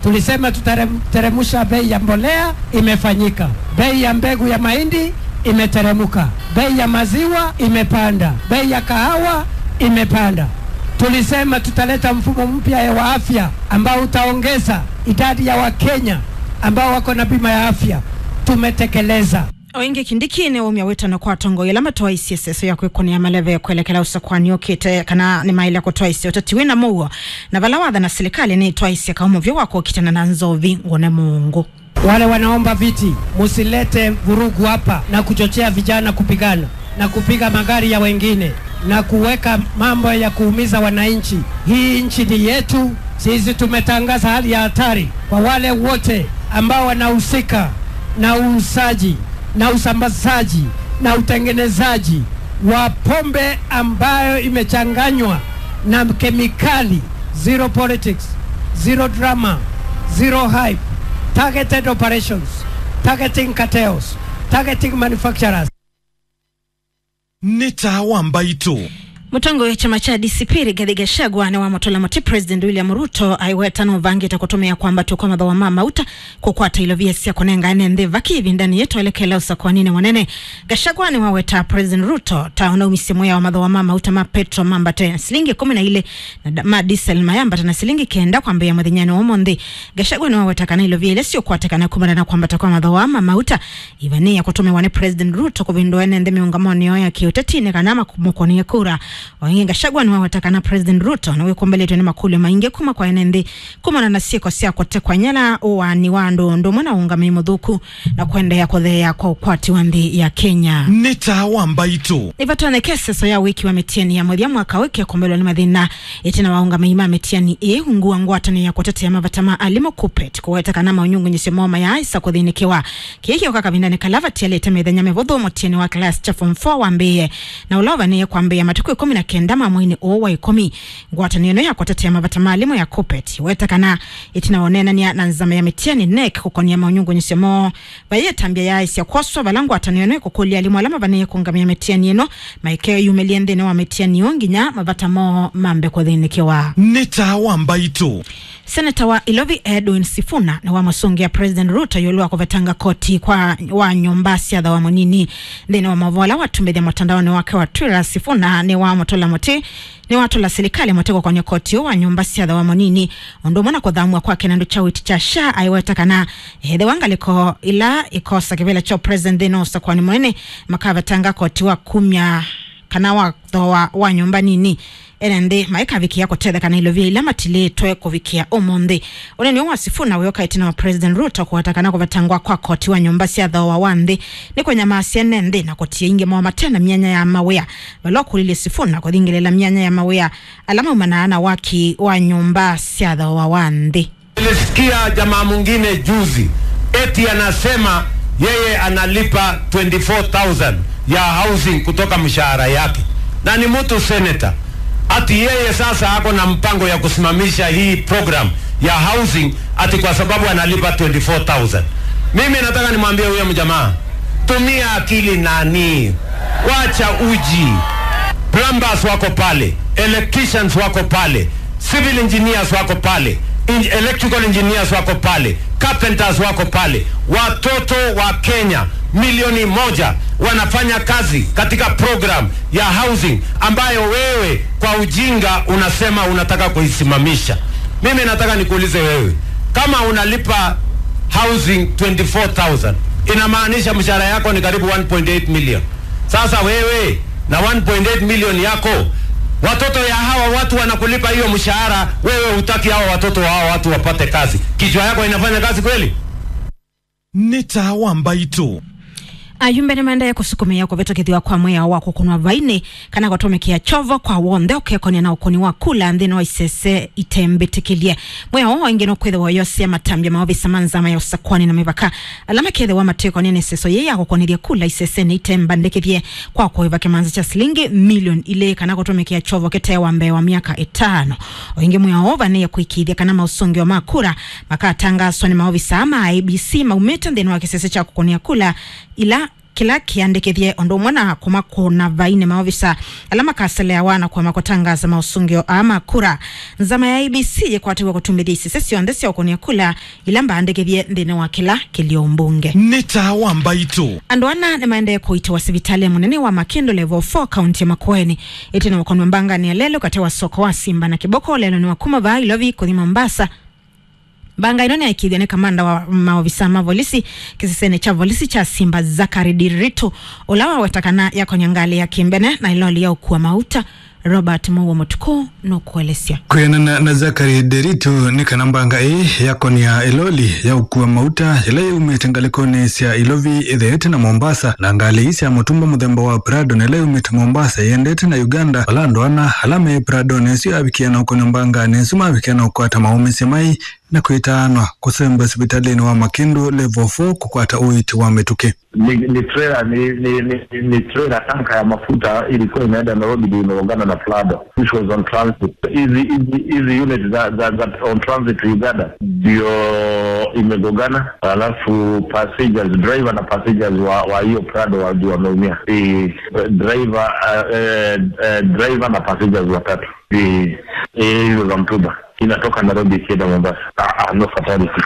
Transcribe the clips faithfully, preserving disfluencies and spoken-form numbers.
Tulisema tutaremusha bei ya mbolea, imefanyika. Bei ya mbegu ya mahindi imeteremuka. Bei ya maziwa imepanda. Bei ya kahawa imepanda. Tulisema tutaleta mfumo mpya wa afya ambao utaongeza idadi ya Wakenya ambao wako na bima ya afya. Tumetekeleza. O ĩngĩ, Kindiki nĩwaumya wĩtano kwa atongoi ala matwaisye seso ya kwĩkũnĩa maleve kwelekela ũsakwani ũkĩte kana nĩmaĩle kũtwaisya ũteti wĩna mũuo, na vala wathana silikalĩ nĩtwaisye kaũmũvyo wa kũkitana na nzovi ngũne mũũngũ. Wale wanaomba viti, musilete vurugu hapa na kuchochea vijana kupigana na kupiga magari ya wengine na kuweka mambo ya kuumiza wananchi. Hii nchi ni yetu. Sisi tumetangaza hali ya hatari kwa wale wote ambao wanahusika na uuzaji na usambazaji na utengenezaji wa pombe ambayo imechanganywa na kemikali. Zero politics, zero drama, zero hype. Targeted operations, targeting cartels, targeting manufacturers. Nĩ taa wa mbaitũ. Mũtongoi wa kyama kya D C P Rigathi Gachagua nĩwamũtũla mũtĩ President William Ruto aiweta nũvangĩte kũtũmĩa kwambatw'a kwa mathooa ma mauta kũkwata ilovia sya kũnenga ene nthĩ vaki ĩvindanĩ yĩĩ twelekela ũsakwaninĩ mũnene. Gachagua nĩwawetaa President Ruto ta ũnaumisye mwĩao mathooa ma mauta ma petro mambate silingi ĩkũmi na ilĩ na da-, ma diesel mayambata na silingi kenda kwambĩĩa mũthenyanĩ wa ũmũnthĩ. Gachagua nĩwaweta kana ilovia ila siũkwatĩkana kumana na kwambata kwa mathooa ma mauta ivanĩĩa kũtũmĩwa nĩ President Ruto kũvĩndũa ene nthĩ mĩũngamonĩ yoo ya kĩũteti nĩ kana mamũkũnĩe kura. O ĩngĩ, Gachagua nĩwaweta kana President Ruto nĩwĩkũmbĩlĩtwe nĩ makũlyo maingĩ kuma kwa ene nthĩ kumana na syĩko sya kũtekwa nyela, ũaani wa andũ, ũndũ ũmwe na ũũngamĩi mũthũku na kũendeea kũtheea kwa ũkwati wa nthĩ ya Kenya. Nĩ taa wa mbaitũ. Nĩvatonyeke seso ya wĩki wa mĩtiani ya mũthya mwaka ũyũ ĩkekũmbĩlwa nĩ mathĩna ĩtina wa ũũngamĩi ma mĩtiani ĩĩ ungu wa ngwatanĩo ya kũtetea mavata ma alimũ, KUPPET, kũweta kana maũnyungunyĩsyo moo mayaaĩsa kũthĩnĩkĩwa. Kĩĩ kĩũka kavindanĩ kala vatialĩte mĩthenya mĩvũthũ mũtiani wa class kya form four wambĩĩe, na ũla ũvanĩĩe kwambĩĩa matukũ ĩkũmi na kenda ma mweinĩ ũũ wa ĩkũmi. Ngwatanĩo ĩno ya kũtetea mavata ma alimũ ya KUPPET ĩweta kana ĩtina wa ũneenany'a na nzama ya mĩtiani, NEC, kũkonia maũnyungunyĩsyo moo, vai ĩtambya yaaĩsya kwoswa vala ngwatanĩo ĩno ĩkũkũlya alimũ ala mavanĩĩe kũũngamĩa mĩtiani ĩno maikeyumĩlye nthĩnĩ wa mĩtiani ĩyo nginya mavata moo mambe kũthĩnĩkĩwa. Nĩ taa wa mbaitũ. Seneta wa Ilovi Edwin Sifuna nĩwamũsũngĩa President Ruto ĩũlũ wa kũvetanga koti kwa wa nyũmba sya thooa mũnini. Nthĩnĩ wa maũvoo ala watumbĩthya mũtandaonĩ wake wa Twitter, Sifuna nĩwamũtũla mũtĩ, nĩwatũla silikalĩ mũtĩ kũkonya koti ũũ wa nyũmba sya thooa mũnini, ũndũ ũmwe na kũthamw'a kwake na ndũ kya ũiiti kya SHA, aiweta kana ethĩwa ngalĩko ila ikosa kĩvĩla kya president nthĩnĩ wa ũsakwani mũnene, makavetanga koti wa kumya kana wa thooa wa nyũmba nini, ene nthĩ maikavikĩa kũtetheka na ilovia ila matilĩtwe kũvikĩa ũmũnthĩ. Ũneeni ũũ wa Sifuna wĩũka ĩtina wa President Ruto kũweta kana kũvetangwa kwa koti wa nyũmba sya thooa wa nthĩ nĩ kũnyamaasya ene nthĩ na kũtia aingĩ moo mate na myanya ya mawĩa, vala ũkũlilye Sifuna kũthingĩlĩĩla myanya ya mawĩa ala maumanaa na waki wa nyũmba sya thooa wa nthĩ. Nilisikia jamaa mwingine juzi eti anasema yeye analipa twenty-four thousand ya housing kutoka mshahara yake, na ni mtu senator, ati yeye sasa ako na mpango ya kusimamisha hii program ya housing ati kwa sababu analipa twenty-four thousand. Mimi nataka nimwambie huyo mjamaa, tumia akili nani, wacha uji. Plumbers wako pale, electricians wako pale, civil engineers wako pale, in-, electrical engineers wako pale, carpenters wako pale. Watoto wa Kenya milioni moja wanafanya kazi katika program ya housing ambayo wewe kwa ujinga unasema unataka kuisimamisha. Mimi nataka nikuulize wewe, kama unalipa housing twenty-four thousand, inamaanisha mshahara yako ni karibu one point eight million. Sasa wewe na one point eight million yako, watoto ya hawa watu wanakulipa hiyo mshahara, wewe hutaki hawa watoto wa hawa watu wapate kazi. Kichwa yako inafanya kazi kweli? Nĩ taa wa mbaitũ. Ayumbe nĩmaendeee kũsukumĩa kũvĩtũkĩthw'a kwa mwĩao wa kũkũnwa vainĩ kana kũtũmĩkĩa kyovo kwa w'onthe ũkekonĩa na ũkũni wa kula nthĩnĩ wa isese itembĩtĩkĩlye. Mwĩao ũũ ĩngĩ nũkwĩthĩwa ũyosea matambya ma ovisa ma nzama ya ũsakwani na mĩvaka ala makethĩwa matĩkonĩa nĩ seso yĩĩ ya kũkũnĩthya kula isesenĩ itembandĩkĩthye kwa kũĩva kĩmanza kya silingi milioni ilĩ kana kũtũmĩkĩa kyovo kĩte wa mbee wa myaka ĩtano. O ĩngĩ, mwĩao ũũ ũvanĩĩe kũĩkĩĩthya kana maũsũngĩo ma kura makatangaswa nĩ maovisa ma I E B C maumĩte nthĩnĩ wa kĩsese kya kũkũnĩa kula ila kĩla kĩandĩkĩthye ũndũ ũmwe na kũmakũna vai nĩ maovisa ala makaseleawa na kũema kũtangaasa maũsũngĩo aa ma kura. Nzama ya I E B C yĩkwatĩw'e kũtumĩthya isese syonthe sya ũkũnĩa kula ila mbaandĩkĩthye nthĩnĩ wa kĩla kĩlio mbunge. Nĩ taa wa mbaitũ. Andũ ana nĩmaendee kũitĩwa sivitalĩ mũnene wa Makindu Level four kaunti ya Makueni ĩtina wa kũnwa mbanganĩ ya lelũ katĩ wa soko wa Simba na Kĩboko lelũnĩ wa kuma vaa Ilovi kũthi Mombasa. Mbanga ĩno nĩyaĩkĩĩthw'a nĩ kamanda wa maovisa ma volisi kĩsesenĩ kya volisi kya Simba, Zachary Nderitu, ũla waweta kana yakonya ngalĩ ya kĩmbene na ĩloli ya ũkua mauta. Robert Mũuo Mũtukũ nũkũelesya. Kwĩanana na Zachary Nderitu, nĩ kana mbanga ĩĩ yakonia ĩloli ya ũkua mauta yĩla yaumĩte ngalĩkonĩ sya Ilovi ĩtheete na Mombasa, na ngalĩ ii sya mũtumba mũthemba wa Prado na ĩla yaumĩte Mombasa ĩendete na Uganda, vala andũ ana ala me Pradonĩ ĩsu yavikie na ũkonya mbanganĩ ĩsu mavikie na ũkwata maũmĩsye mai na kwĩtaanwa kũsembwa sivitalĩnĩ wa Makindu Level four kũkwata ũiiti wa mĩtũkĩ. Ni, ni trailer, ni, ni, ni, ni trailer tanka ya mafuta ilikuwa inaenda Nairobi, ndio imeungana na Prado, which was on transit. Hizi, hizi, hizi unit za, za, za on transit to Uganda ndio imegongana, alafu passengers, driver na passengers wa, wa hiyo Prado wa, ndio wameumia. Eh, driver, eh, eh, eh, driver na passengers watatu. Eh, eh, hizo za mtumba. Inatoka Nairobi ikienda Mombasa. Ah, ah, no fatality.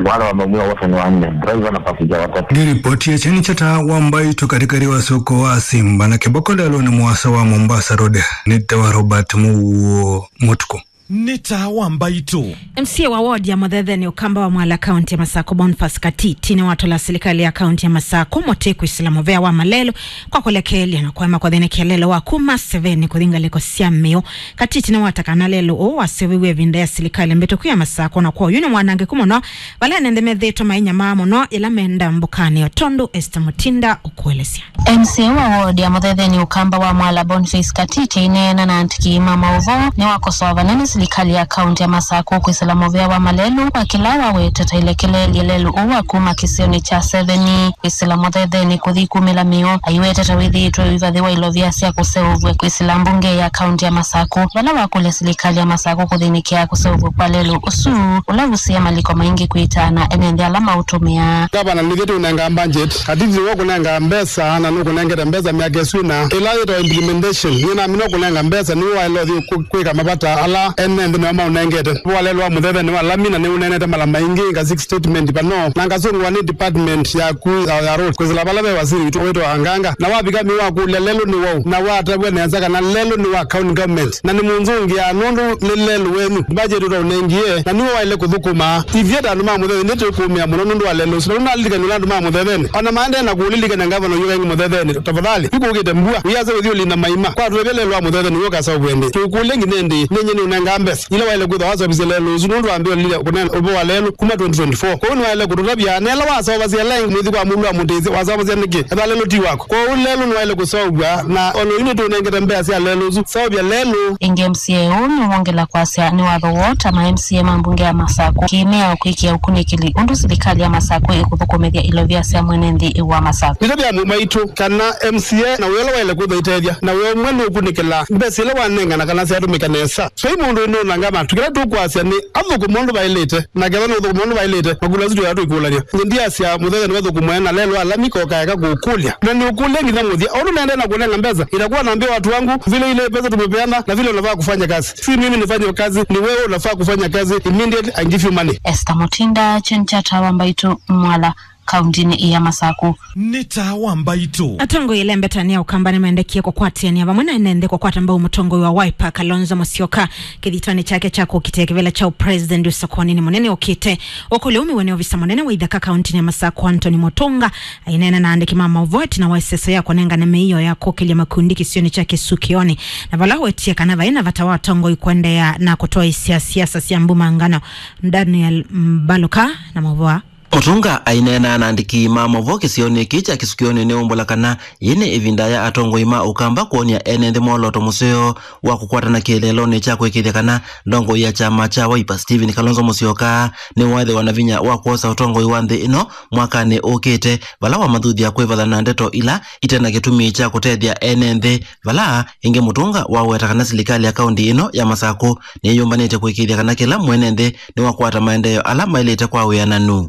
Wale wameumia wote ni wanne, driver na passenger watatu. Nĩ ripoti ya Kyeni kya Taa wa Mbaitũ katĩkatĩ wa soko wa Simba na Kĩboko lelũnĩ mũasa wa Mombasa Road. Nĩ tawa Robert Mũuo Mũtukũ. Nĩ taa wa mbaitũ. M C A wa ward ya Mũthetheni Ũkamba wa Mwala kaunti ya Masakũ, Boniface Katiti, nĩwatũla silikalĩ ya kaunti ya Masakũ mũtĩ kwĩsĩla mũvea wa malelũ kwa kũlekeelya na kũema kũthĩnĩkĩa lelũ wa kuma Seveni kũthi ngalĩko sya Mĩũ. Katiti nĩwata kana lelũ ũũ waseũviw'e ĩvinda ya silikalĩ mbĩtũku ya Masakũ, na kwoou nĩ mwanangĩku mũno vala ene nthĩ methĩĩtwe mainyamaa mũno yĩla menda mbũkanĩ, o tondũ Esther Mutinda ũkũelesya. M C A wa ward ya Mũthetheni Ũkamba wa Mwala, Boniface Katiti, aineena na andĩki ma maũvoo nĩwakosoa vanene silikalĩ ya kaunti ya Masakũ kwĩsĩla mũvea wa malelũ kwa kĩla wawetete ĩlekelelye lelũ ũũ wa kuma kĩsionĩ kya Seveni kwĩsĩla Mũthetheni kũthi kumĩla Mĩũ, aiwetete wĩthĩĩtwe ũivathĩwa ilovia sya kũseũvw'a kwĩsĩla mbunge ya kaunti ya Masakũ, vala wakũlya silikalĩ ya Masakũ kũthĩnĩkĩa kũseũvw'a kwa lelũ ũsu, ũla ũvusie maliko maingĩ kwĩtaana ene nthĩ ala maũtũmĩaa. Ngavana nĩthyĩ tũnenga budget, Katiti nĩwe ũkũnenga mbesa, na nũkũnengete mbesa myaka ĩsu ĩna. Ĩla yĩtawa implementation, nĩnamina ũkũnenga mbesa, nĩwe waĩle ũthi kũ-, kwĩka mavata ala ene nthĩ nĩwe maũnengete. Walelũ wa Mũthetheni wa lami na nĩũneenete mala maingĩ, nga six statement vano, na ngasũngwa nĩ department yaku ya, ya road, kwĩsĩla vala ve wasili witũ wĩtawa Anganga, na wavika Mĩũ wakũlya lelũ nĩ waũ, na watavw'a nesa kana lelũ nĩ wa county government, na nĩmũnzũngĩaa nũndũ nĩ lelũ wenyu, budget ũtaũnengie, na nĩwe waĩle kũthũkũma. Ithyĩ ta andũ ma Mũthetheni nĩtũkũũmĩa mũno nũndũ wa lelũ ũsu, na nũnalilikany'a ũla andũ ma Mũthetheni ona maendee na kũũlilikany'a ngavana ũyũ wa Mũthetheni, tafadhali, yu kũkĩte mbua, wĩasa ũthi ũlinda maima, kwatũevya lelũ wa Mũthetheni ũyũ ũkaseũvw'e ĩndĩ? Tũkũlye nginya ĩndĩ? Nĩ nyie nĩũnengaa mbesa ila waĩle kwĩthwa waseũvisye lelũ ũsu nũndũ wambĩĩe ũlilya kũneena ũvoo wa lelũ kuma twenty twenty-four. Kwoou nĩwaĩle kũtũtavya, na ĩla waseũvasya ĩla ĩngĩ mwĩthi kwa mũlũ wa mũtĩsĩ, waseũvasya nĩkĩ? Ethĩwa lelũ ti waku. Kwoou lelũ nĩwaĩle kũseũvw'a, na o na yu nĩtũnengete mbesa sya lelũ ũsu. Seũvya lelũ. Ĩngĩ M C A ũũ nĩwongela kwasya nĩ watho woo ta ma M C A ma mbunge ya Masakũ kĩĩmĩao kwĩkĩa ũkunĩkĩli ũndũ silikalĩ ya Masakũ ĩkũthũkũmĩthya ilovia sya mwene nthĩ wa Masakũ. Nĩtavya amwe maitũ kana M C A na wĩa ũla waĩle kwĩthwa ĩtethya, na wĩa ũmwe nĩ ũkunĩkĩla mbesa ila wanengana kana syatũmĩka nesa. Vai mũndũ ũnũnanga matu. Kĩla tũkwasya nĩ athũkũme ũndũ vaĩlĩte, na kethwa nũthũkũme ũndũ vaĩlĩte, makũlyo asu tũya tũikũlany'a. Nyie ndiasya Mũthetheni vathũkũmwe na lelũ wa lami koka eka kũkũlya. Na nĩũkũlya nginya mũthya. Ũndũ naendee na kũnenga mbesa, itakuwa naambia watu wangu vile ile pesa tumepeana na vile unafaa kufanya kazi. Si mimi nifanye kazi, ni wewe unafaa kufanya kazi immediately and give you money. Esther Mutinda, Kyeni kya Taa wa Mbaitũ, Mwala, kauntinĩ ya Masakũ. Nĩ taa wa mbaitũ. Atongoi ĩla mbeta nĩ ya Ũkamba nĩmaendekie kũkwatĩanĩa vamwe na ene nthĩ kũkwata mbau mũtongoi wa Wiper, Kalonzo Musyoka, kĩthitanĩ kyake kya kũkitĩa kĩvĩla kya ũpresident ũsakuanĩnĩ mũnene ũkĩte. Ũkũlyo ũmĩwe nĩ ovisa mũnene wa ithaka kauntinĩ ya Masakũ, Anthony Mutunga, aineena na andĩki ma maũvoo ĩtina wa ĩseso ya kũnengane mĩio ya kũkĩlya makundi kĩsionĩ kya Kĩsukĩonĩ, na vala wetie kana vai na vata wa atongoi kũendeea na kũtwaĩsya siasa sya mbumangano. Daniel Mbaluka na maũvoo. Mutunga aineena na andĩki ma maũvoo kĩsionĩ kĩĩ kya Kĩsukĩonĩ nĩwaumbũla kana yĩĩ nĩ ĩvinda ya atongoi ma Ũkamba kwony'a ene nthĩ mwolooto mũseo wa kũkwatana kĩeleelonĩ kya kũĩkĩĩthya kana ndongoi ya kyama kya Wiper, Stephen Kalonzo Musyoka, nĩwaĩthĩwa na vinya wa kwosa ũtongoi wa nthĩ ĩno mwakanĩ ũkĩte, vala wamathuthya kwĩvathana na ndeto ila ite na kĩtumi kya kũtethya ene nthĩ, vala ĩngĩ Mutunga waweta kana silikalĩ ya kaunti ĩno ya Masakũ nĩyĩyũmbanĩte kũĩkĩĩthya kana kĩla mwene nthĩ nĩwakwata maendeeo ala maĩlĩte kwa wĩananu.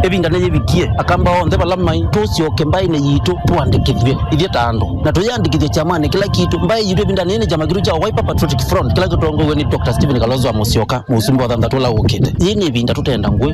Ĩvinda nĩyĩvikie, Akamba onthe vala maĩ, tũsyoke mbaĩnĩ yitũ tũandĩkĩthw'e ithyĩ ta andũ, na tũyĩandĩkĩthye kyamanĩ kĩla kitũ. Mbaĩ yitũ ĩvindanĩ yĩĩ nĩ kyama kitũ kya Wiper Patriotic Front, kĩla kĩtongoew'e nĩ Doctor Stephen Kalonzo wa Musyoka, mũsumbĩ wa thanthatũ ũla ũkĩte. Yĩĩ nĩ ĩvinda tũtenda ngũĩ.